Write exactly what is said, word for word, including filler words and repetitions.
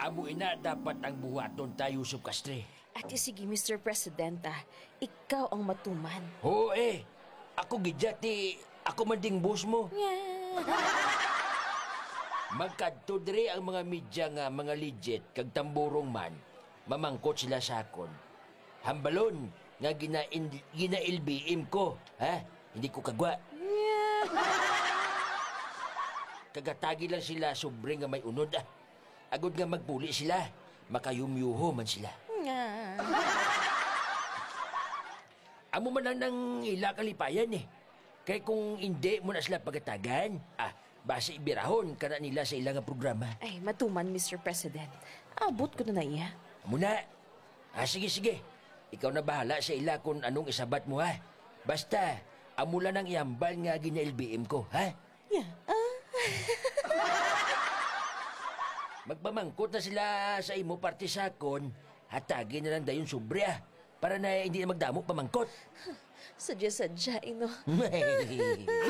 Amo ina dapat ang buhaton ta, Yusuf Castre. Ati sige, Mister President, ah. Ikaw ang matuman. Oo, eh. Ako gid, ti ako man ding boss mo. Nga. Magkadto diri ang mga media nga mga legit kag tamburong man, mamangkot sila sa akon. Hambalon nga gina-, gina-L B M ko, ha? Hindi ko kagwa. Nga. Kagatagi lang sila sobre nga may unod, ah. Agod nga magpuli sila, makayumyuho man sila. Nga. Amo man lang nang ila kalipayan, eh. Kay kung indi mo na sila pagatagan, ah, basi birahon ka na nila sa ila nga programa. Ay, matuman, Mister President. Abot ko na na iya. Amo na. Ah, sige, sige. Ikaw na bahala sa ila kung anong isabat mo, ha? Basta, amo lang ang ihambal nga gina-L B M ko, ha? Ya, ah. Magpamangkot na sila sa imo parte sa akon, hatagi na lang dayon sobre, ah, para na hindi na magdamo pamangkot. Sadya-sadya, ino.